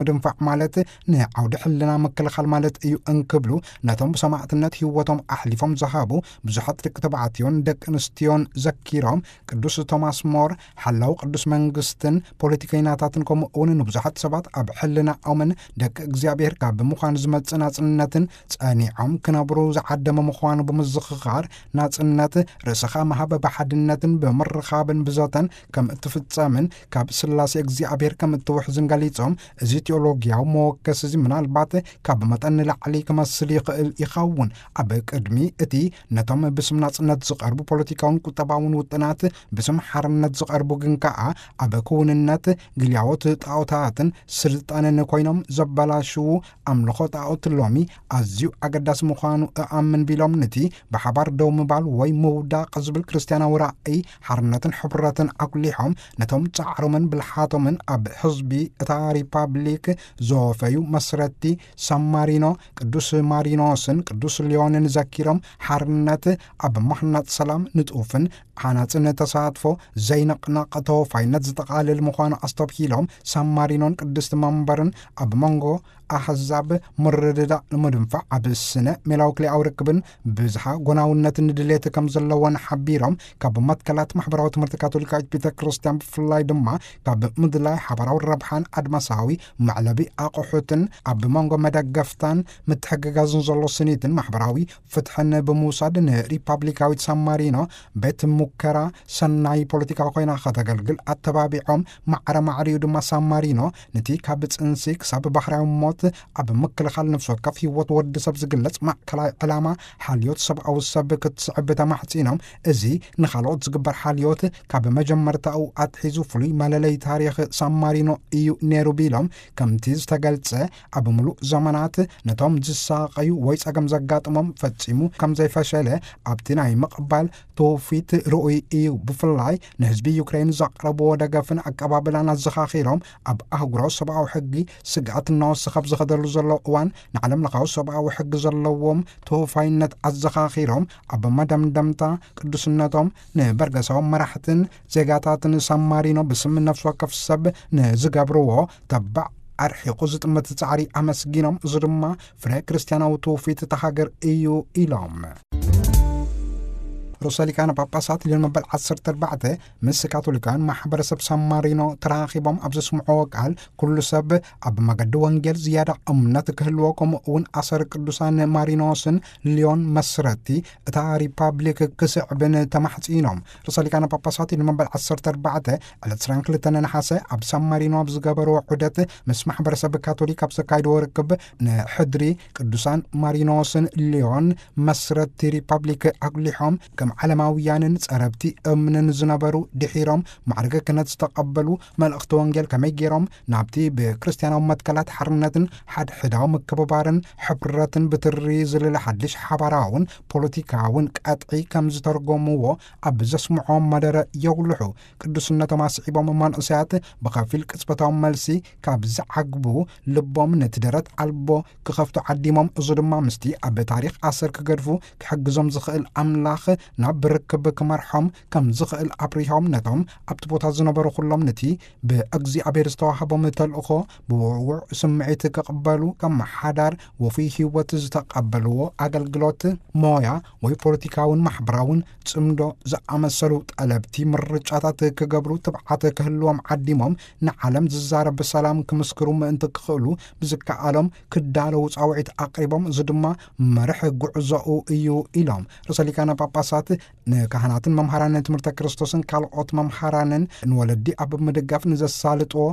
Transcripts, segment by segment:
ምድንፋዕ ማለት ንዓውዲ ሕልና ምክልኻል ማለት እዩ እንክብሉ፣ ነቶም ብሰማዕትነት ህይወቶም ኣሕሊፎም ዝሃቡ ብዙሓት ደቂ ተባዕትዮን ደቂ ኣንስትዮን ዘኪሮም፣ ቅዱስ ቶማስ ሞር ሓላው ቅዱስ መንግስትን ፖለቲከኛታትን፣ ከምኡ እውን ንብዙሓት ሰባት ኣብ ሕልናኦምን ደቂ እግዚኣብሔር ካብ ምዃን ዝመጽእ ናጽነትን ጸኒዖም ክነብሩ ዝዓደመ ምዃኑ ብምዝኽኻር፣ ናጽነት ርእስኻ ምሃብ ብሓድነትን ብምርኻብን ብዘተን ከም እትፍጸምን ካብ ስላሴ እግዚኣብሔር ከም እትውሕዝን ገሊጾም፣ እዚ ቴዎሎጊያዊ መወከሲ እዚ ምናልባት ካብ መጠን ንላዕሊ ክመስል ይኽእል ይኸውን። ኣብ ቅድሚ እቲ ነቶም ብስም ናጽነት ዝቐርቡ ፖለቲካውን ቁጠባውን ውጥናት፣ ብስም ሓርነት ዝቐርቡ ግን ከኣ ኣብ ክውንነት ግልያዎት ጣዖታትን ስልጣንን ኮይኖም ዘበላሽዉ ኣምልኾ ጣዖት ሎሚ ኣዝዩ ኣገዳሲ ምዃኑ እኣምን ቢሎም፣ ነቲ ብሓባር ደው ምባል ወይ ምውዳቕ ዝብል ክርስትያናዊ ራእይ ሓርነትን ሕብረትን ኣጉሊሖም፣ ነቶም ጻዕሮምን ብልሓቶምን ኣብ ህዝቢ እታ ሪፓብሊክ ዘወፈዩ መስረቲ ሳን ማሪኖ ቅዱስ ማሪኖስን ቅዱስ ሊዮንን ዘኪሮም፣ ሓርነት ኣብ ምሕናጽ ሰላም፣ ንጡፍን ሓናጽን ተሳትፎ፣ ዘይንቕነቕ ተወፋይነት ዝጠቓልል ምዃኑ ኣስተብሂሎም፣ ሳን ማሪኖን ቅድስቲ መንበርን ኣብ መንጎ ኣህዛብ ምርድዳእ ንምድንፋዕ፣ ኣብ ስነ ሜላዊ ክልኤዊ ርክብን ብዝሃ ጎናውነትን ድሌት ከም ዘለወን ሓቢሮም፣ ካብ መትከላት ማሕበራዊ ትምህርቲ ካቶሊካዊት ቤተ ክርስቲያን ብፍላይ ድማ ካብ ምድላይ ሓባራዊ ረብሓን ኣድማሳዊ መዕለቢ ኣቑሑትን ኣብ መንጎ መደገፍታን ምትሕግጋዝን ዘሎ ስኒትን ማሕበራዊ ፍትሕን ብምውሳድ፣ ንሪፓብሊካዊት ሳን ማሪኖ ቤት ሙከራ ሰናይ ፖለቲካ ኮይና ከተገልግል ኣተባቢዖም፣ ማዕረ ማዕሪኡ ድማ ሳን ማሪኖ ነቲ ካብ ጽንሲ ክሳብ ባህርያዊ ሞት ኣብ ምክልኻል ነፍሲ ወከፍ ህይወት ወዲ ሰብ ዝግለጽ ማእከላይ ዕላማ ሓልዮት ሰብኣዊ ሰብ ክትስዕብ ተማሕጺኖም፣ እዚ ንኻልኦት ዝግበር ሓልዮት ካብ መጀመርታኡ ኣትሒዙ ፍሉይ መለለይ ታሪኽ ሳን ማሪኖ እዩ ነይሩ ቢሎም፣ ከምቲ ዝተገልጸ ኣብ ምሉእ ዘመናት ነቶም ዝሳቐዩ ወይ ጸገም ዘጋጥሞም ፈጺሙ ከም ዘይፈሸለ ኣብቲ ናይ ምቕባል ትውፊት ርኡይ እዩ። ብፍላይ ንህዝቢ ዩክሬን ዘቕረብዎ ደገፍን ኣቀባብላን ኣዘኻኺሮም፣ ኣብ ኣህጉራዊ ሰብኣዊ ሕጊ ስግኣት እናወሰኸ ኣብ ዝኸደሉ ዘሎ እዋን፣ ንዓለም ለኻዊ ሰብኣዊ ሕጊ ዘለዎም ተወፋይነት ኣዘኻኺሮም፣ ኣብ መደምደምታ ቅዱስነቶም ንበርገሳዊ መራሕትን ዜጋታትን ሳን ማሪኖ ብስም ነፍሲ ወከፍ ሰብ ንዝገብርዎ ተባዕ ኣርሒቑ ዝጥምት ጻዕሪ ኣመስጊኖም፣ እዚ ድማ ፍረ ክርስትያናዊ ትውፊት እታ ሃገር እዩ ኢሎም። ርእሰ ሊቃነ ጳጳሳት ሊዮን መበል ዓሰርተ ኣርባዕተ ምስ ካቶሊካውያን ማሕበረሰብ ሳን ማሪኖ ተራኺቦም ኣብ ዘስምዕዎ ቃል፣ ኩሉ ሰብ ኣብ መገዲ ወንጌል ዝያዳ እምነት ክህልዎ፣ ከምኡ እውን ኣሰር ቅዱሳን ማሪኖስን ሊዮን መስረቲ እታ ሪፓብሊክ ክስዕብን ተማሕጺኖም። ርእሰ ሊቃነ ጳጳሳት ሊዮን መበል ዓሰርተ ኣርባዕተ ዕለት ዕስራን ክልተን ነሓሰ ኣብ ሳን ማሪኖ ኣብ ዝገበርዎ ዑደት ምስ ማሕበረሰብ ካቶሊክ ኣብ ዘካይድዎ ርክብ፣ ንሕድሪ ቅዱሳን ማሪኖስን ሊዮን መስረቲ ሪፓብሊክ ኣጉሊሖም፣ ከም ዓለማውያንን ጸረብቲ እምንን ዝነበሩ፣ ድሒሮም ማዕርገ ክህነት ዝተቐበሉ፣ መልእኽቲ ወንጌል ከመይ ገይሮም ናብቲ ብክርስትያናዊ መትከላት ሓርነትን ሓድሕዳዊ ምክብባርን ሕብረትን ብትሪ ዝልለ ሓድሽ ሓባራውን ፖለቲካውን ቀጥዒ ከም ዝተርጎምዎ ኣብ ዘስምዖም መደረ የጉልሑ። ቅዱስነቶም ኣስዒቦም፣ መንእሰያት ብኸፊል ቅጽበታዊ መልሲ ካብ ዝዓግቡ፣ ልቦም ነቲ ደረት ኣልቦ ክኸፍቱ ዓዲሞም፣ እዚ ድማ ምስቲ ኣብ ታሪኽ ኣሰር ክገድፉ ክሕግዞም ዝኽእል ኣምላኽ ናብ ርክብ ክመርሖም ከም ዝኽእል ኣብሪሆም፣ ነቶም ኣብቲ ቦታ ዝነበሩ ኩሎም ነቲ ብእግዚኣብሔር ዝተዋህቦም ተልእኾ ብውዕዉዕ ስምዒት ክቕበሉ፣ ከም ሓዳር ወፉይ ህይወት ዝተቐበልዎ ኣገልግሎት፣ ሞያ ወይ ፖለቲካውን ማሕበራውን ጽምዶ ዝኣመሰሉ ጠለብቲ ምርጫታት ክገብሩ ትብዓት ክህልዎም ዓዲሞም፣ ንዓለም ዝዛረብ ሰላም ክምስክሩ ምእንቲ ክኽእሉ ብዝከኣሎም ክዳለዉ ጻውዒት ኣቕሪቦም፣ እዚ ድማ መርሕ ጉዕዞኡ እዩ ኢሎም። ርእሰ ሊቃነ ጳጳሳት ንካህናትን መምሃራንን ትምህርተ ክርስቶስን ካልኦት መምሃራንን ንወለዲ ኣብ ምድጋፍ ንዘሳልጥዎ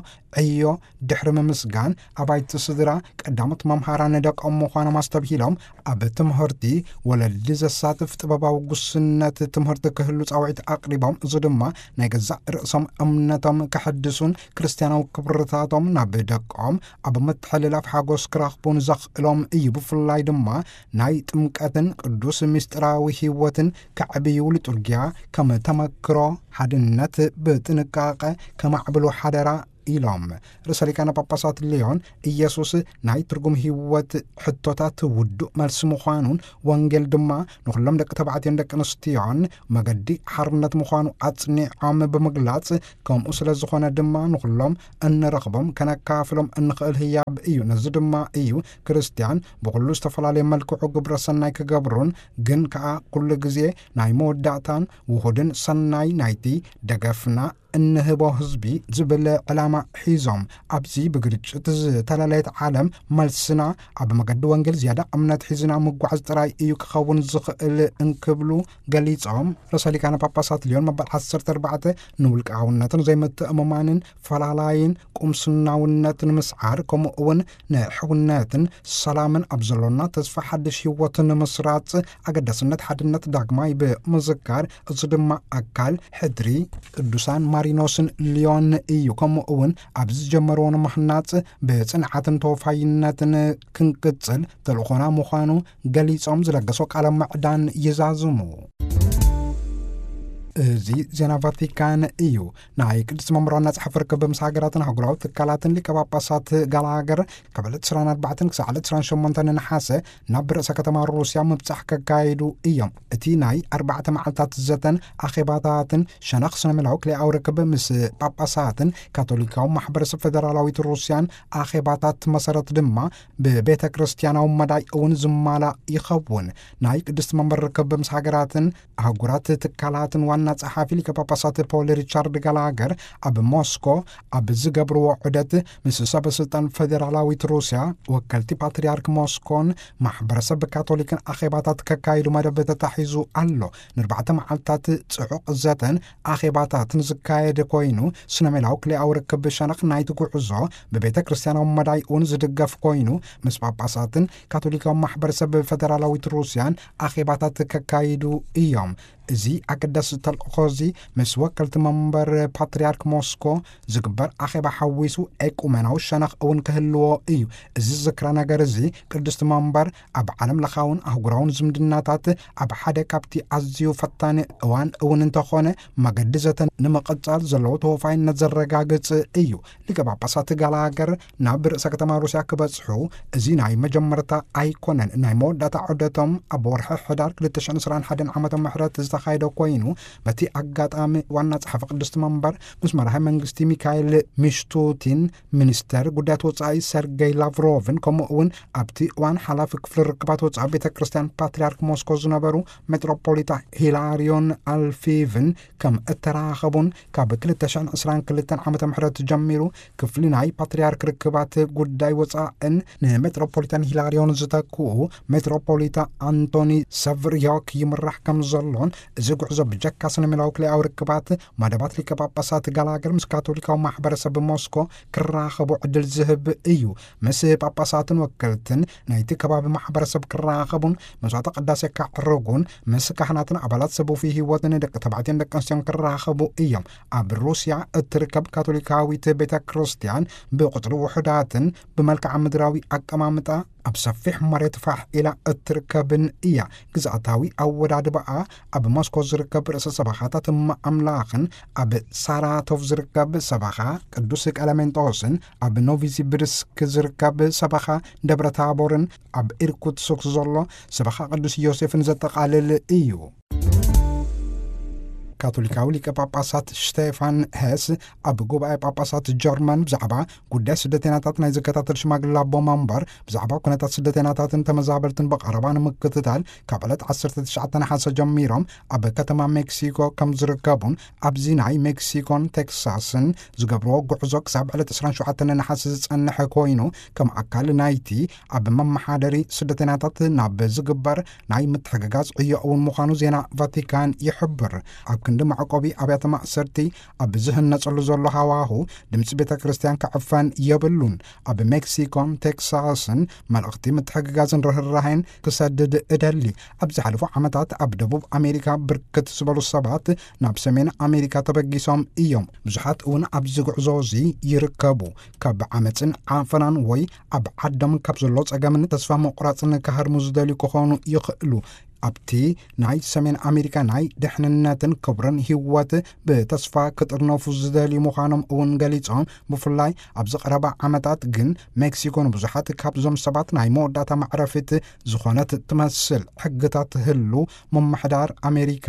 ዕዮ ድሕሪ ምምስጋን፣ ኣባይቲ ስድራ ቀዳሞት መምሃራን ደቆም ምዃኖም ኣስተብሂሎም፣ ኣብ ትምህርቲ ወለዲ ዘሳትፍ ጥበባዊ ጉስነት ትምህርቲ ክህሉ ጻውዒት ኣቕሪቦም፣ እዚ ድማ ናይ ገዛእ ርእሶም እምነቶም ከሐድሱን ክርስትያናዊ ክብርታቶም ናብ ደቆም ኣብ ምትሕልላፍ ሓጎስ ክረኽቡን ዘኽእሎም እዩ። ብፍላይ ድማ ናይ ጥምቀትን ቅዱስ ምስጢራዊ ህይወትን ከዕብዩ፣ ሊጡርጊያ ከም ተመክሮ ሓድነት ብጥንቃቐ ከማዕብሉ ሓደራ ኢሎም። ርእሰ ሊቃነ ጳጳሳት ሊዮን፣ ኢየሱስ ናይ ትርጉም ህይወት ሕቶታት ውዱእ መልሲ ምዃኑን፣ ወንጌል ድማ ንኹሎም ደቂ ተባዕትዮን ደቂ ኣንስትዮን መገዲ ሓርነት ምዃኑ ኣጽኒዖም ብምግላጽ፣ ከምኡ ስለ ዝኾነ ድማ ንኹሎም እንረኽቦም ከነካፍሎም እንኽእል ህያብ እዩ። ነዚ ድማ እዩ ክርስትያን ብኹሉ ዝተፈላለየ መልክዑ ግብረ ሰናይ ክገብሩን፣ ግን ከኣ ኩሉ ግዜ ናይ መወዳእታን ውሁድን ሰናይ ናይቲ ደገፍና እንህቦ ህዝቢ ዝብል ዕላማ ሒዞም፣ ኣብዚ ብግርጭት ዝተለለየት ዓለም፣ መልስና ኣብ መገዲ ወንጌል ዝያዳ እምነት ሒዝና ምጓዓዝ ጥራይ እዩ ክኸውን ዝኽእል እንክብሉ ገሊጾም። ርእሰ ሊቃነ ጳጳሳት ሊዮን መበል ዓሰርተ ኣርባዕተ ንውልቃውነትን ዘይምትእምማንን ፈላላይን ቁምስናውነትን ምስዓር፣ ከምኡ እውን ንሕውነትን ሰላምን ኣብ ዘሎና ተስፋ ሓድሽ ህይወት ንምስራጽ ኣገዳስነት ሓድነት ዳግማይ ብምዝካር፣ እዚ ድማ ኣካል ሕድሪ ቅዱሳን ማሪኖስን ሊዮን እዩ። ከምኡ እውን ኣብ ዝጀመርዎ ንምህናጽ ብጽንዓትን ተወፋይነትን ክንቅጽል ተልእኾና ምዃኑ ገሊጾም፣ ዝለገሶ ቃለ ምዕዳን ይዛዝሙ። እዚ ዜና ቫቲካን እዩ። ናይ ቅድስቲ መንበር ዋና ጸሓፊ ርክብ ምስ ሃገራትን ኣህጉራዊ ትካላትን ሊቀ ጳጳሳት ጋላገር ካብ ዕለት ዕስራን ኣርባዕተን ክሳዕ ዕለት ዕስራን ሸሞንተን ነሓሰ ናብ ርእሰ ከተማ ሩስያ ምብጻሕ ከካይዱ እዮም። እቲ ናይ ኣርባዕተ መዓልታት ዘተን ኣኼባታትን ሸነኽ ስነ ሜላዊ ክልኤኣዊ ርክብ ምስ ጳጳሳትን ካቶሊካዊ ማሕበረሰብ ፈደራላዊት ሩስያን ኣኼባታት መሰረት ድማ ብቤተ ክርስቲያናዊ መዳይ እውን ዝማላእ ይኸውን። ናይ ቅድስቲ መንበር ርክብ ምስ ሃገራትን ኣህጉራት ትካላትን ዋና ጸሓፊ ሊቀ ጳጳሳት ፖል ሪቻርድ ጋላገር ኣብ ሞስኮ ኣብ ዝገብርዎ ዑደት፣ ምስ ሰበ ስልጣን ፈደራላዊት ሩስያ፣ ወከልቲ ፓትርያርክ ሞስኮን ማሕበረሰብ ካቶሊክን ኣኼባታት ከካይዱ መደብ ተታሒዙ ኣሎ። ንኣርባዕተ መዓልታት ጽዑቕ ዘተን ኣኼባታትን ዝካየድ ኮይኑ፣ ስነ ሜላዊ ክልኤኣዊ ርክብ ሸነኽ ናይቲ ጉዕዞ ብቤተ ክርስቲያናዊ መዳይ እውን ዝድገፍ ኮይኑ፣ ምስ ጳጳሳትን ካቶሊካዊ ማሕበረሰብ ፈደራላዊት ሩስያን ኣኼባታት ከካይዱ እዮም። እዚ ኣገዳሲ ተልእኾ እዚ፣ ምስ ወከልቲ መንበር ፓትርያርክ ሞስኮ ዝግበር ኣኼባ ሓዊሱ፣ ኤቁመናዊ ሸነኽ እውን ክህልዎ እዩ። እዚ ዝክረ ነገር እዚ፣ ቅድስቲ መንበር ኣብ ዓለም ለኻውን ኣህጉራውን ዝምድናታት ኣብ ሓደ ካብቲ ኣዝዩ ፈታኒ እዋን እውን እንተኾነ፣ መገዲ ዘተ ንምቕጻል ዘለዎ ተወፋይነት ዘረጋግጽ እዩ። ሊቀ ጳጳሳት ጋላገር ናብ ርእሰ ከተማ ሩስያ ክበጽሑ፣ እዚ ናይ መጀመርታ ኣይኮነን። ናይ መወዳእታ ዑደቶም ኣብ ወርሒ ሕዳር ክልተ ሽሕን ዕስራን ሓደን ዓመተ ምሕረት ዝተኻየደ ኮይኑ፣ በቲ ኣጋጣሚ ዋና ጸሓፊ ቅድስቲ መንበር ምስ መራሒ መንግስቲ ሚካኤል ሚሽቱቲን፣ ሚኒስተር ጉዳያት ወጻኢ ሰርገይ ላቭሮቭን፣ ከምኡ እውን ኣብቲ እዋን ሓላፊ ክፍሊ ርክባት ወጻኢ ቤተ ክርስቲያን ፓትርያርክ ሞስኮ ዝነበሩ ሜትሮፖሊጣ ሂላሪዮን ኣልፊቭን ከም እተራኸቡን፣ ካብ ክልተ ሽሕን ዕስራን ክልተን ዓመተ ምሕረት ጀሚሩ ክፍሊ ናይ ፓትርያርክ ርክባት ጉዳይ ወጻእን ንሜትሮፖሊታን ሂላሪዮን ዝተክኡ ሜትሮፖሊታ ኣንቶኒ ሰቭርዮክ ይምራሕ ከም ዘሎን፣ እዚ ጉዕዞ ብጀካ ስነ ሜላዊ ክልኤኣዊ ርክባት፣ መደባት ሊቀ ጳጳሳት ጋላገር ምስ ካቶሊካዊ ማሕበረሰብ ሞስኮ ክራኸቡ ዕድል ዝህብ እዩ። ምስ ጳጳሳትን ወከልትን ናይቲ ከባቢ ማሕበረሰብ ክራኸቡን መስዋዕተ ቅዳሴ ከዕርጉን፣ ምስ ካህናትን ኣባላት ሰብ ውፉይ ህይወትን ደቂ ተባዕትዮን ደቂ ኣንስትዮን ክራኸቡ እዮም። ኣብ ሩስያ እትርከብ ካቶሊካዊት ቤተ ክርስቲያን ብቁጽሪ ውሑዳትን ብመልክዓ ምድራዊ ኣቀማምጣ ኣብ ሰፊሕ መሬት ፋሕ ኢላ እትርከብን እያ። ግዝኣታዊ ኣወዳድባኣ ኣብ ሞስኮ ዝርከብ ርእሰ ሰበኻታት እመ ኣምላኽን፣ ኣብ ሳራቶቭ ዝርከብ ሰበኻ ቅዱስ ቀለሜንጦስን፣ ኣብ ኖቪሲብርስክ ዝርከብ ሰበኻ ደብረ ታቦርን፣ ኣብ ኢርኩትስክ ዘሎ ሰበኻ ቅዱስ ዮሴፍን ዘጠቓልል እዩ። ካቶሊካዊ ሊቀ ጳጳሳት ሽቴፋን ሄስ ኣብ ጉባኤ ጳጳሳት ጀርመን ብዛዕባ ጉዳይ ስደተኛታት ናይ ዝከታተል ሽማግለ ኣቦ መንበር፣ ብዛዕባ ኩነታት ስደተኛታትን ተመዛበልትን ብቐረባ ንምክትታል፣ ካብ ዕለት ዓሰርተ ትሽዓተ ነሓሰ ጀሚሮም ኣብ ከተማ ሜክሲኮ ከም ዝርከቡን፣ ኣብዚ ናይ ሜክሲኮን ቴክሳስን ዝገብርዎ ጉዕዞ ክሳብ ዕለት ዕስራን ሸውዓተን ነሓሰ ዝጸንሐ ኮይኑ፣ ከም ኣካል ናይቲ ኣብ መመሓደሪ ስደተኛታት ናብ ዝግበር ናይ ምትሕግጋዝ ዕዮ እውን ምዃኑ ዜና ቫቲካን ይሕብር። ኣብ ክንዲ መዕቆቢ ኣብያተ ማእሰርቲ ኣብ ዝህነጸሉ ዘሎ ሃዋሁ፣ ድምጺ ቤተ ክርስቲያን ክዕፈን የብሉን። ኣብ ሜክሲኮን ቴክሳስን መልእኽቲ ምትሕግጋዝን ርህራሄን ክሰድድ እደሊ። ኣብ ዝሓለፉ ዓመታት ኣብ ደቡብ ኣሜሪካ ብርክት ዝበሉ ሰባት ናብ ሰሜን ኣሜሪካ ተበጊሶም እዮም። ብዙሓት እውን ኣብዚ ጉዕዞ እዚ ይርከቡ። ካብ ዓመጽን ዓፈናን ወይ ኣብ ዓዶም ካብ ዘሎ ጸገምን ተስፋ ምቑራጽን ክሃድሙ ዝደልዩ ክኾኑ ይኽእሉ። ኣብቲ ናይ ሰሜን ኣሜሪካ ናይ ድሕንነትን ክብርን ህይወት ብተስፋ ክጥርነፉ ዝደልዩ ምዃኖም እውን ገሊጾም፣ ብፍላይ ኣብዚ ቀረባ ዓመታት ግን ሜክሲኮ ንብዙሓት ካብዞም ሰባት ናይ መወዳእታ መዕረፊት ዝኾነት ትመስል ሕግታት ህሉ ምምሕዳር ኣሜሪካ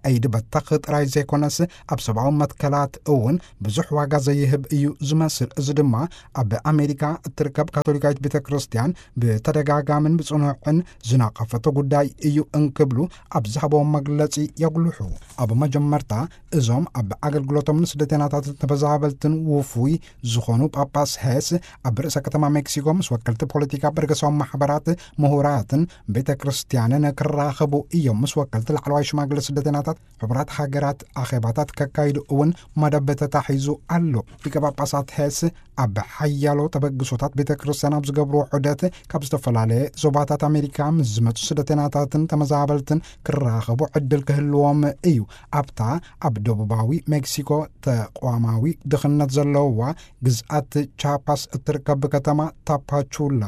ቀይዲ በተኽ ጥራይ ዘይኮነስ ኣብ ሰብኣዊ መትከላት እውን ብዙሕ ዋጋ ዘይህብ እዩ ዝመስል። እዚ ድማ ኣብ ኣሜሪካ እትርከብ ካቶሊካዊት ቤተ ክርስቲያን ብተደጋጋምን ብጽኑዕን ዝናቐፈቶ ጉዳይ እዩ እንክብሉ ኣብ ዝሃቦም መግለጺ የጉልሑ። ኣብ መጀመርታ እዞም ኣብ ኣገልግሎቶም ንስደተኛታትን ተመዛበልትን ውፉይ ዝኾኑ ጳጳስ ሄስ ኣብ ርእሰ ከተማ ሜክሲኮ ምስ ወከልቲ ፖለቲካ፣ በርገሳዊ ማሕበራት፣ ምሁራትን ቤተ ክርስቲያንን ክራኸቡ እዮም። ምስ ወከልቲ ላዕለዋይ ሽማግለ ስደተኛታት ሕቡራት ሃገራት ኣኼባታት ከካይዱ እውን መደብ ተታሒዙ ኣሎ። ሊቀ ጳጳሳት ሄስ ኣብ ሓያሎ ተበግሶታት ቤተ ክርስቲያን ኣብ ዝገብርዎ ዑደት ካብ ዝተፈላለየ ዞባታት ኣሜሪካ ምስ ዝመጹ ስደተኛታትን ተመዛበልትን ክራኸቡ ዕድል ክህልዎም እዩ። ኣብታ ኣብ ደቡባዊ ሜክሲኮ ተቋማዊ ድኽነት ዘለዋ ግዝኣት ቻፓስ እትርከብ ከተማ ታፓቹላ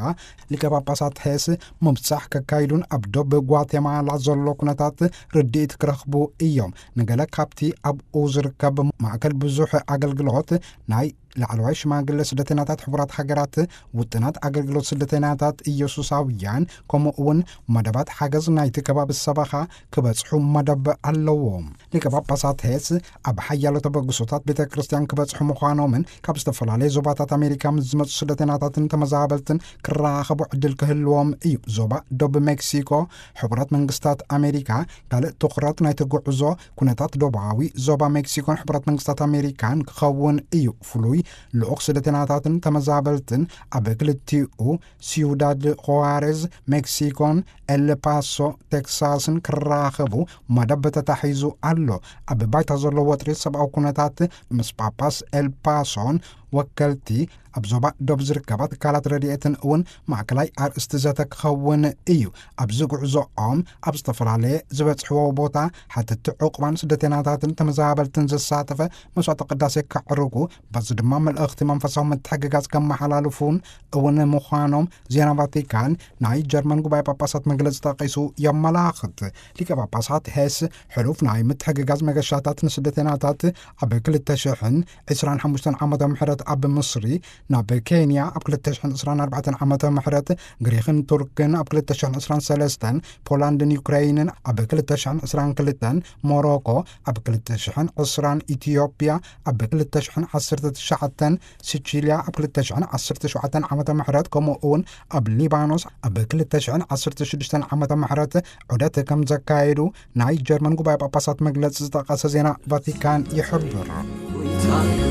ሊቀ ጳጳሳት ሄስ ምብጻሕ ከካይዱን ኣብ ዶብ ጓቴማላ ዘሎ ኩነታት ርድኢት ክረኽቡ እዮም። ንገለ ካብቲ ኣብኡ ዝርከብ ማእከል ብዙሕ ኣገልግሎት ናይ ላዕለዋይ ሽማግለ ስደተኛታት ሕቡራት ሃገራት፣ ውጥናት ኣገልግሎት ስደተኛታት ኢየሱሳውያን፣ ከምኡ እውን መደባት ሓገዝ ናይቲ ከባቢ ሰበኻ ክበጽሑ መደብ ኣለዎም። ሊቀ ጳጳሳት ሄስ ኣብ ሓያሎ ተበግሶታት ቤተ ክርስቲያን ክበጽሑ ምዃኖምን ካብ ዝተፈላለየ ዞባታት ኣሜሪካ ምስ ዝመጹ ስደተኛታትን ተመዛበልትን ክራኸቡ ዕድል ክህልዎም እዩ። ዞባ ዶብ ሜክሲኮ ሕቡራት መንግስታት ኣሜሪካ ካልእ ትኹረት ናይቲ ጉዕዞ ኩነታት ዶባዊ ዞባ ሜክሲኮን ሕቡራት መንግስታት ኣሜሪካን ክኸውን እዩ። ፍሉይ ልኡኽ ስደተኛታትን ተመዛበልትን ኣብ ክልቲኡ ሲዩዳድ ኹዋሬዝ ሜክሲኮን ኤልፓሶ ቴክሳስን ክራኸቡ መደብ ተታሒዙ ኣሎ። ኣብ ባይታ ዘሎ ወጥሪ ሰብኣዊ ኩነታት ምስ ጳጳስ ኤልፓሶን ወከልቲ ኣብ ዞባ ዶብ ዝርከባ ትካላት ረድኤትን እውን ማእከላይ ኣርእስቲ ዘተ ክኸውን እዩ። ኣብዚ ጉዕዞኦም ኣብ ዝተፈላለየ ዝበጽሕዎ ቦታ ሓተቲ ዕቑባን ስደተኛታትን ተመዛበልትን ዘሳተፈ መስዋዕተ ቅዳሴ ከዕርጉ፣ በዚ ድማ መልእኽቲ መንፈሳዊ ምትሕግጋዝ ከመሓላልፉን እውን ምዃኖም ዜና ቫቲካን ናይ ጀርመን ጉባኤ ጳጳሳት መግለጺ ጠቒሱ የመላኽት። ሊቀ ጳጳሳት ሄስ ሕሉፍ ናይ ምትሕግጋዝ መገሻታት ንስደተኛታት ኣብ ክልተ ሽሕን ዕስራን ሓሙሽተን ዓመተ ምሕረት ኣብ ምስሪ፣ ናብ ኬንያ ኣብ ክልተ ሽሕን ዕስራን ኣርባዕተን ዓመተ ምሕረት፣ ግሪኽን ቱርክን ኣብ ክልተ ሽሕን ዕስራን ሰለስተን፣ ፖላንድን ዩክሬይንን ኣብ ክልተ ሽሕን ዕስራን ክልተን፣ ሞሮኮ ኣብ ክልተ ሽሕን ዕስራን፣ ኢትዮጵያ ኣብ ክልተ ሽሕን ዓሰርተ ትሽዓተን፣ ሲቺልያ ኣብ ክልተ ሽሕን ዓሰርተ ሸውዓተን ዓመተ ምሕረት፣ ከምኡ እውን ኣብ ሊባኖስ ኣብ ክልተ ሽሕን ዓሰርተ ሽዱሽተን ዓመተ ምሕረት ዑደት ከም ዘካየዱ ናይ ጀርመን ጉባኤ ጳጳሳት መግለጺ ዝጠቐሰ ዜና ቫቲካን ይሕብር። ጎይታዩ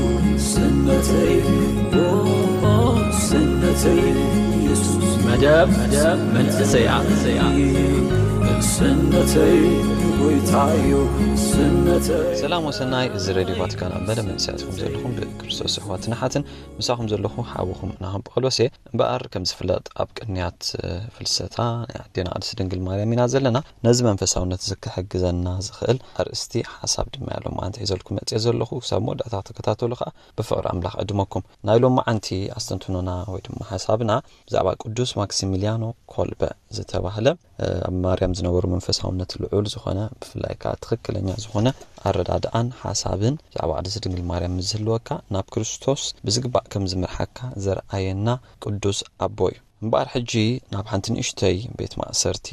ስነተይ፣ ኦ፣ ስነተይ፣ ኢየሱስ መደብ፣ መደብ መንእሰያ። ስነተይ፣ ጎይታዩ ስነተይ። ሰላም ወሰናይ፣ እዚ ሬድዮ ቫቲካን ኣብ መደብ መንእሰያት ኢኹም ዘለኹም ብክርስቶስ ኣሕዋትን ኣሓትን ምሳኹም ዘለኹ ሓውኹም ናሆም ጳውሎስ እየ። እምበኣር ከም ዝፍለጥ ኣብ ቅንያት፣ እ፣ ፍልሰታ ናይ ኣዴና ቅድስቲ ድንግል ማርያም ኢና ዘለና። ነዚ መንፈሳውነት እዚ ክሕግዘና ዝኽእል ኣርእስቲ ሓሳብ ድማ እየ ሎማዓንቲ ሒዘልኩም መጽየ ዘለኹ። ክሳብ መወዳእታ ክትከታተሉ ከኣ ብፍቕሪ ኣምላኽ ዕድመኩም። ናይ ሎማዓንቲ ኣስተንትኖና ወይ ድማ ሓሳብና ብዛዕባ ቅዱስ ማክሲሚልያኖ ኮልበ ዝተባህለ፣ እ፣ ኣብ ማርያም ዝነበሩ መንፈሳውነት ልዑል ዝኾነ፣ ብፍላይ ከኣ ትኽክለኛ ዝኾነ ኣረዳድኣን ሓሳብን ብዛዕባ ቅድስቲ ድንግል ማርያም ምስ ዝህልወካ ናብ ክርስቶስ ብዝግባእ ከም ዝምርሓካ ዘርኣየና ቅዱስ ኣቦ እዩ። እምበኣር ሕጂ ናብ ሓንቲ ንእሽተይ ቤት ማእሰርቲ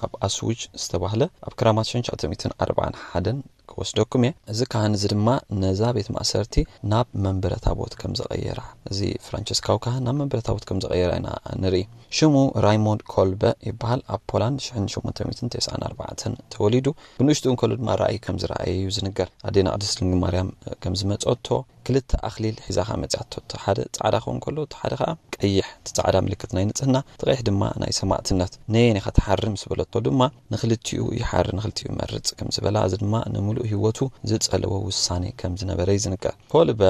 ኣብ ኣስውጅ ዝተባህለ ኣብ ክራማት ሽሕን ትሽዓተ ሚእትን ኣርባዓን ሓደን ክወስደኩም እየ። እዚ ካህን እዚ ድማ ነዛ ቤት ማእሰርቲ ናብ መንበረ ታቦት ከም ዘቐየራ፣ እዚ ፍራንቸስካዊ ካህን ናብ መንበረ ታቦት ከም ዘቐየራ ኢና ንርኢ። ሽሙ ራይሞንድ ኮልበ ይበሃል። ኣብ ፖላንድ ሽሕን ሸሞንተ ሚእትን ተስዓን ኣርባዕተን ተወሊዱ። ብንእሽትኡ እንከሎ ድማ ራእይ ከም ዝረኣየ እዩ ዝንገር። ኣዴና ቅድስት ድንግል ማርያም ከም ዝመጸቶ፣ ክልተ ኣኽሊል ሒዛ ኸኣ መጺኣቶ። እቲ ሓደ ጻዕዳ ክኸውን ከሎ፣ እቲ ሓደ ኸኣ ቀይሕ። እቲ ጻዕዳ ምልክት ናይ ንጽህና፣ እቲ ቀይሕ ድማ ናይ ሰማእትነት። ነየን ኢኻ ትሓሪ ምስ በለቶ ድማ፣ ንኽልቲኡ ይሓሪ፣ ንኽልቲኡ ይመርጽ ከም ዝበላ፣ እዚ ድማ ንምሉእ ህይወቱ ዝጸለዎ ውሳኔ ከም ዝነበረ እዩ ዝንገር። ኮልበ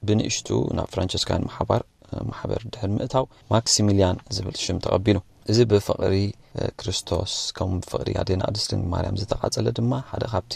ብንእሽቱ ናብ ፍራንቸስካውያን ማሕባር፣ ማሕበር ድሕሪ ምእታው፣ ማክሲሚልያን ዝብል ሽም ተቐቢሉ። እዚ ብፍቕሪ ክርስቶስ ከም ፍቕሪ ኣዴና ቅድስት ድንግል ማርያም ዝተቓጸለ ድማ ሓደ ካብቲ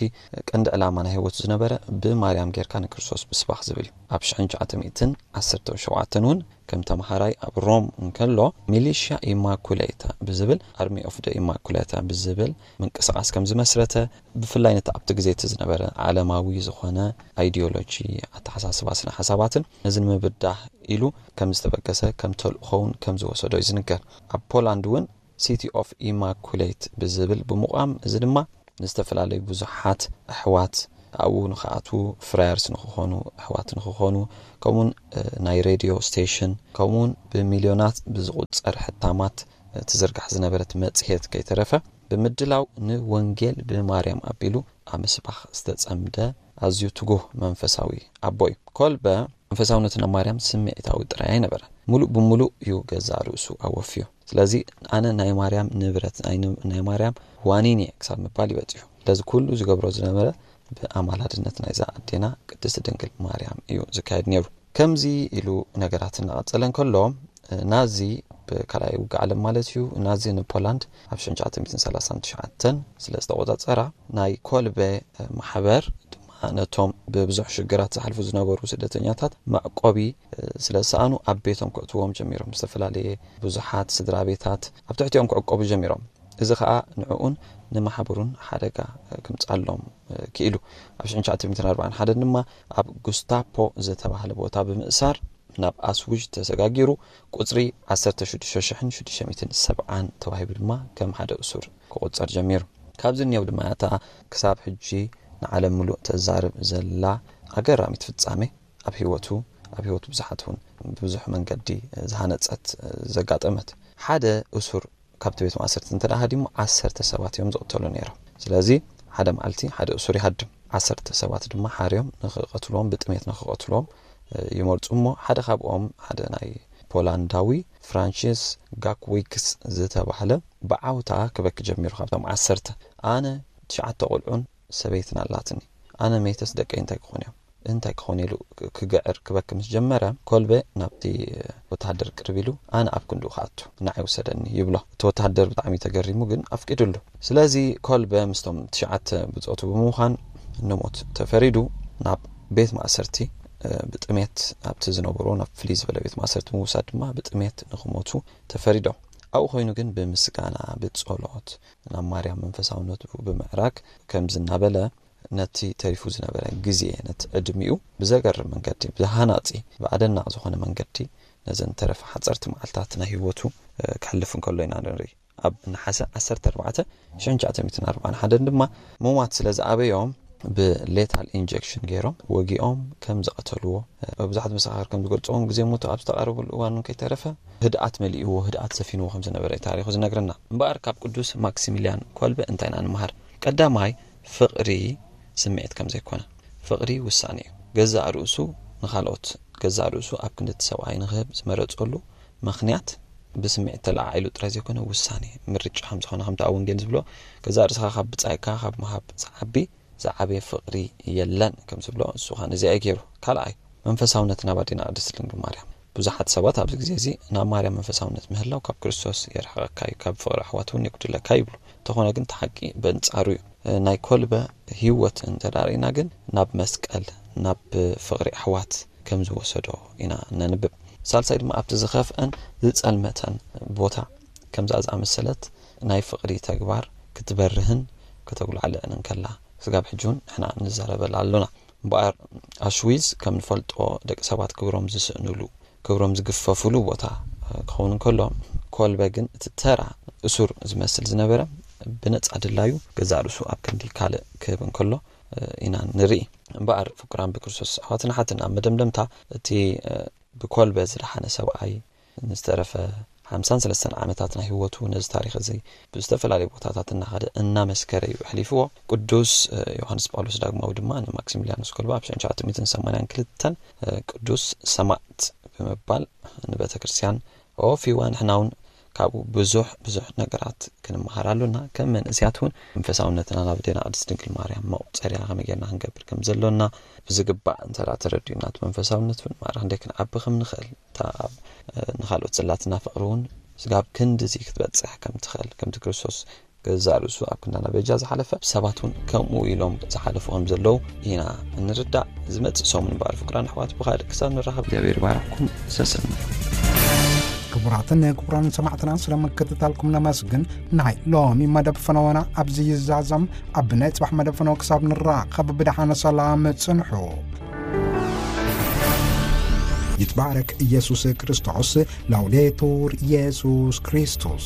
ቀንዲ ዕላማ ናይ ህይወቱ ዝነበረ ብማርያም ጌርካ ንክርስቶስ ምስባኽ ዝብል እዩ። ኣብ ሽሕን ትሽዓተ ሚእትን ዓሰርተ ሸውዓተን እውን ከም ተምሃራይ ኣብ ሮም እንከሎ ሚሊሽያ ኢማኩሌታ ብዝብል ኣርሚ ኦፍ ደ ኢማኩሌታ ብዝብል ምንቅስቃስ ከም ዝመስረተ ብፍላይ ነቲ ኣብቲ ግዜ እቲ ዝነበረ ዓለማዊ ዝኾነ ኣይዲዮሎጂ ኣተሓሳስባ ስነ ሓሳባትን ነዚ ንምብዳህ ኢሉ ከም ዝተበገሰ ከም ተልእኾውን ከም ዝወሰዶ እዩ ዝንገር። ኣብ ፖላንድ እውን ሲቲ ኦፍ ኢማኩሌት ብዝብል ብምቋም እዚ ድማ ንዝተፈላለዩ ብዙሓት ኣሕዋት ኣብኡ ንክኣትዉ ፍራየርስ ንክኾኑ ኣሕዋት ንክኾኑ ከምኡውን ናይ ሬድዮ ስቴሽን ከምኡውን ብሚልዮናት ብዝቁፀር ሕታማት ትዝርጋሕ ዝነበረት መፅሄት ከይተረፈ ብምድላው ንወንጌል ብማርያም ኣቢሉ ኣብ ምስባኽ ዝተጸምደ ኣዝዩ ትጉህ መንፈሳዊ ኣቦ እዩ። ኮልበ መንፈሳውነቱ ናብ ማርያም ስምዒታዊ ጥራይ ኣይነበረ። ሙሉእ ብሙሉእ እዩ ገዛእ ርእሱ ኣወፍዮ። ስለዚ ኣነ ናይ ማርያም ንብረት ናይ ማርያም ዋኒን እየ ክሳብ ምባል ይበጽሑ። ስለዚ ኩሉ ዝገብሮ ዝነበረ ብኣማላድነት ናይዛ ኣዴና ቅድስቲ ድንግል ማርያም እዩ ዝካየድ ነይሩ። ከምዚ ኢሉ ነገራት እናቐጸለ እንከሎ ናዚ ብካልኣይ ውግእ ዓለም ማለት እዩ ናዚ ንፖላንድ ኣብ ሽሕን ትሽዓተ ሚእትን ሰላሳን ትሽዓተን ስለ ዝተቆጻጸራ ናይ ኮልበ ማሕበር ድማ ነቶም ብብዙሕ ሽግራት ዝሓልፉ ዝነበሩ ስደተኛታት መዕቆቢ ስለ ዝሰኣኑ ኣብ ቤቶም ክእትዎም ጀሚሮም። ዝተፈላለየ ብዙሓት ስድራ ቤታት ኣብ ትሕቲኦም ክዕቆቡ ጀሚሮም። እዚ ኸኣ ንዕኡን ንማሕበሩን ሓደጋ ክምጻሎም ክኢሉ። ኣብ ሽሕን ትሽዓተ ሚእትን ኣርባዓን ሓደን ድማ ኣብ ጉስታፖ ዝተባህለ ቦታ ብምእሳር ናብ ኣስዊጅ ተሰጋጊሩ ቁጽሪ ዓሰርተ ሽዱሽተ ሽሕን ሽዱሽተ ሚእትን ሰብዓን ተዋሂቡ ድማ ከም ሓደ እሱር ክቑጸር ጀሚሩ። ካብዚ እኒአው ድማ እታ ክሳብ ሕጂ ንዓለም ምሉእ ተዛርብ ዘላ ኣገራሚት ፍጻሜ ኣብ ህይወቱ ኣብ ህይወቱ ብዙሓት እውን ብብዙሕ መንገዲ ዝሃነጸት ዘጋጠመት ሓደ እሱር ካብቲ ቤት ማእሰርቲ እንተ ደኣ ሃዲሙ ዓሰርተ ሰባት እዮም ዝቕተሉ ነይሮም። ስለዚ ሓደ መዓልቲ ሓደ እሱር ይሃድም። ዓሰርተ ሰባት ድማ ሓርዮም ንኽቐትልዎም ብጥሜት ንኽቐትልዎም ይመርጹ እሞ ሓደ ካብኦም ሓደ ናይ ፖላንዳዊ ፍራንሲስ ጋክዊክስ ዝተባህለ ብዓውታ ክበኪ ጀሚሩ። ካብቶም ዓሰርተ ኣነ ትሽዓተ ቆልዑን ሰበይትን ኣላትኒ ኣነ መይተስ ደቀይ እንታይ ክኾኑ እዮም እንታይ ክኾኑ ኢሉ ክግዕር ክበኪ ምስ ጀመረ ኮልበ ናብቲ ወተሃደር ቅርብ ኢሉ ኣነ ኣብ ክንድኡ ክኣቱ ንዓይ ውሰደኒ ይብሎ። እቲ ወተሃደር ብጣዕሚ ተገሪሙ ግን ኣፍቂዱሉ። ስለዚ ኮልበ ምስቶም ትሽዓተ ብጾቱ ብምዃን ንሞት ተፈሪዱ ናብ ቤት ማእሰርቲ ብጥሜት ኣብቲ ዝነበሮ ናብ ፍልይ ዝበለ ቤት ማእሰርቲ ምውሳድ ድማ ብጥሜት ንክሞቱ ተፈሪዶም። ኣብኡ ኮይኑ ግን ብምስጋና ብጸሎት ናብ ማርያም መንፈሳውነቱ ብምዕራግ ከምዚ እናበለ ነቲ ተሪፉ ዝነበረ ግዜ ነቲ ዕድሚኡ ብዘገርም መንገዲ ብሃናጺ ብኣደናቕ ዝኾነ መንገዲ ነዘን ተረፈ ሓጸርቲ መዓልታት ናይ ህይወቱ ክሕልፍ እንከሎ ኢና ንርኢ። ኣብ ነሓሰ ዓሰርተ ኣርባዕተ ሽሕን ትሽዓተ ሚእትን ኣርባዓን ሓደን ድማ ምሟት ስለ ዝኣበዮም ብሌታል ኢንጀክሽን ገይሮም ወጊኦም ከም ዝቐተልዎ ብዙሓት መሰኻኽር ከም ዝገልፅዎም ግዜ ሞቱ ኣብ ዝተቓረበሉ እዋን እውን ከይተረፈ ህድኣት መሊእዎ ህድኣት ሰፊንዎ ከም ዝነበረ እዩ ታሪኹ ዝነግረና። እምበኣር ካብ ቅዱስ ማክሲሚልያን ኮልበ እንታይ ኢና ንምሃር? ቀዳማይ ፍቕሪ ስምዒት ከም ዘይኮነ ፍቕሪ ውሳኔ እዩ። ገዛእ ርእሱ ንኻልኦት ገዛእ ርእሱ ኣብ ክንዲ እቲ ሰብኣይ ንክህብ ዝመረፀሉ ምኽንያት ብስምዒት ተለዓዒሉ ጥራይ ዘይኮነ ውሳኔ ምርጫ ከም ዝኾነ ከምቲ ኣብ ወንጌል ዝብሎ ገዛእ ርእስኻ ካብ ብጻይካ ካብ ምሃብ ዝዓቢ ዝዓበየ ፍቕሪ የለን ከም ዝብሎ እሱ ኸኣ ነዚኣ እዩ ገይሩ። ካልኣይ መንፈሳውነት ናብ ኣዴና ቅድስት ድንግል ማርያም ብዙሓት ሰባት ኣብዚ ግዜ እዚ ናብ ማርያም መንፈሳውነት ምህላው ካብ ክርስቶስ የርሕቐካ እዩ ካብ ፍቕሪ ኣሕዋት እውን የጉድለካ ይብሉ። እንተኾነ ግን እቲ ሓቂ በንጻሩ እዩ። ናይ ኮልበ ህይወት እንተዳርኢና ግን ናብ መስቀል ናብ ፍቕሪ ኣሕዋት ከም ዝወሰዶ ኢና ነንብብ። ሳልሳይ ድማ ኣብቲ ዝኸፍአን ዝጸልመተን ቦታ ከምዛ ዝኣመሰለት ናይ ፍቕሪ ተግባር ክትበርህን ከተጉላዕልዕን እንከላ ስጋብ ሕጂ እውን ንሕና ንዛረበላ ኣሎና። እምበኣር ኣሽዊዝ ከም ንፈልጦ ደቂ ሰባት ክብሮም ዝስእንሉ ክብሮም ዝግፈፍሉ ቦታ ክኸውን እንከሎ ኮልበ ግን እቲ ተራ እሱር ዝመስል ዝነበረ ብነጻ ድላዩ ገዛእ ርእሱ ኣብ ክንዲ ካልእ ክህብ እንከሎ ኢና ንርኢ። እምበኣር ፍቁራን ብክርስቶስ ኣሕዋትን ኣሓትን ኣብ መደምደምታ እቲ ብኮልበ ዝደሓነ ሰብኣይ ንዝተረፈ ሓምሳን ሰለስተን ዓመታት ናይ ህይወቱ ነዚ ታሪኽ እዚ ብዝተፈላለዩ ቦታታት እናኸደ እናመስከረ እዩ ኣሕሊፍዎ። ቅዱስ ዮሃንስ ጳውሎስ ዳግማዊ ድማ ንማክሲሚልያኖስ ኮልባ ኣብ ሽሕን ትሽዓተ ሚእትን ሰማንያን ክልተን ቅዱስ ሰማዕት ብምባል ንቤተ ክርስቲያን ኣወፊዋ። ንሕና እውን ካብኡ ብዙሕ ብዙሕ ነገራት ክንመሃር ኣሎና። ከም መንእስያት እውን መንፈሳውነትና ናብ ኣዴና ቅድስት ድንግል ማርያም መቑጸርያ ከመይ ጌርና ክንገብር ከም ዘሎና ብዝግባእ እንተ ተረዲኡና እቲ መንፈሳውነት እውን ማዕረ ክንደይ ክንዓቢ ከም ንኽእል እታ ንኻልኦት ዘላትና ፍቕሪ እውን ስጋብ ክንድዚ ክትበጽሕ ከም ትኽእል፣ ከምቲ ክርስቶስ ገዛእ ርእሱ ኣብ ክንዳና በጃ ዝሓለፈ፣ ሰባት እውን ከምኡ ኢሎም ዝሓለፉ ከም ዘለዉ ኢና እንርዳእ። ዝመጽእ ሰሙን እምበኣር ፍቅራን ኣሕዋት ብኻልእ ክሳብ ንራኸብ እግዚኣብሔር ይባርኽኩም። ሰሰን። ክቡራትን ክቡራን ሰማዕትና ስለ ምክትታልኩም ነመስግን። ናይ ሎሚ መደብ ፈነወና ኣብዚ ይዛዘም። ኣብ ናይ ጽባሕ መደብ ፈነወ ክሳብ ንራኸብ ብደሓነ ሰላም ጽንሑ። ይትባረክ ኢየሱስ ክርስቶስ። ላውዴቱር ኢየሱስ ክርስቶስ።